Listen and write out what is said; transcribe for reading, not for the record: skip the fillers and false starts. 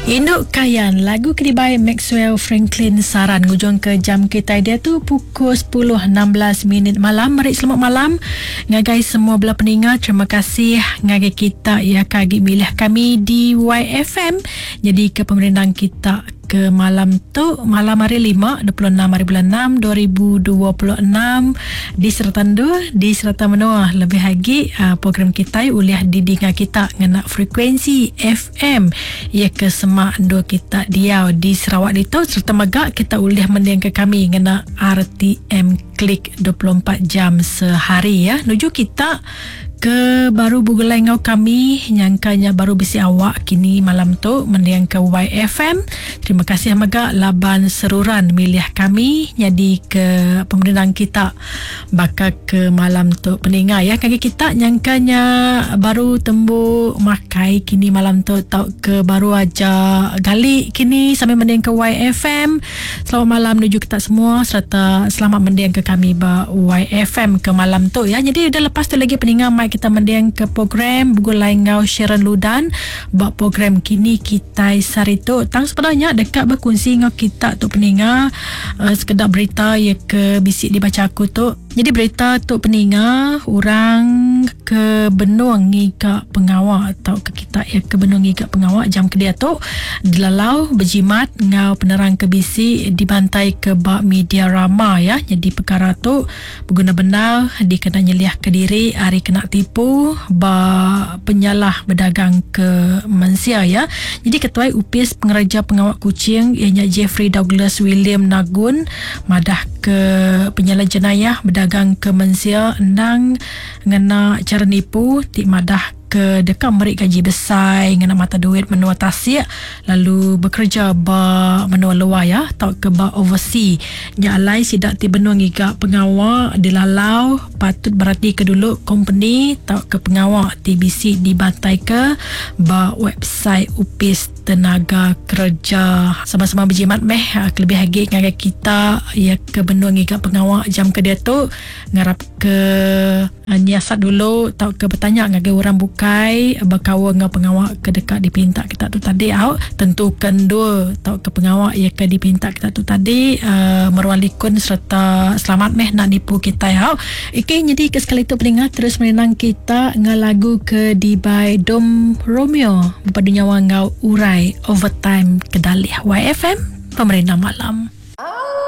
Indu Kayan, lagu ke dibai Maxwell Franklin Saran ngujung ke jam kitai diatu pukul 10.16 minit malam. Meri selamat malam ngagai semua bela peninga. Terima kasih ngagai kita ya ke agi milih kami di YFM. Jadi ke pemerindang kita ke malam tu malam hari 5 26 hari bulan 6 2026 di serata endur di serata menua lebih agi uh, program kitai ulih didinga kita ngena frekuensi FM iya ke semak endur kita diau di Sarawak ditu serta mega kita ulih mendingka kami ngena RTM Klik 24 jam sehari ya nuju kita Ke baru begulai enggau kami nyangka nya baru bisi awak kini malam tu mendingka YFM. Terima kasih mega laban seruran milih kami nyadi ke pemerindang kita baka ke malam tu peninga ya kagi kita nyangka nya baru tembu makai kini malam tu tauka baru aja gali kini sambil mendingka YFM. Selamat malam nuju kita semua serta selamat mending ke kami ba YFM ke malam tu ya. Jadi udah lepas tu lagi peninga mai kita mending ke program begulai enggau Sharon Ludan ba program kini kitai sehari tu. Tang sebenarnya deka berkongsi enggau kita tu peninga uh, sekeda berita ya ke bisi dibaca aku tu. Nyadi berita tu peninga orang ke benung ngiga pengawa tauka kita iya ke benung ngiga pengawa jam ke diatu dilalau bejimat enggau penerang ke bisi dibantai ke ba media rama ya. Nyadi pekara tu beguna bendar dikena nyeliahka diri ari kena tipu ba penyalah bedagang ke mensia ya. Nyadi ketuai Opis Pengereja Pengawa Kuching iya nya Jeffrey Douglas William Nagun Madah ke penyalah jenayah bedagang ke mensia endang ngena chara nipu ti madah ke deka meri gaji besai ngena mata duit menua tasik lalu bekereja ba menua luar ya tauka ba oversea. Nya alai sida ti benung ngiga pengawa dilalau patut beratika dulu kompeni tauka pengawa ti bisi dibantaika ba website opis tenaga kereja. Sama-sama bejimat meh kelebih agi ngagai kita iya ke benung ngiga pengawa jam ke diatu ngarap ke nyiasat dulu tauka betanya ngagai orang bukai bekaul enggau pengawa ke deka dipinta kita tu tadi au tentuka endur tauka pengawa iya ke dipinta kita tu tadi uh, meruan likun sereta selamat meh nak nipu kitai au. Okey nyadi ke sekali tu peninga terus merindang kita enggau lagu ke dibai Dom Romeo bepadu nyawa enggau Urai Overtime Kedalih YFM Pemerindang Malam.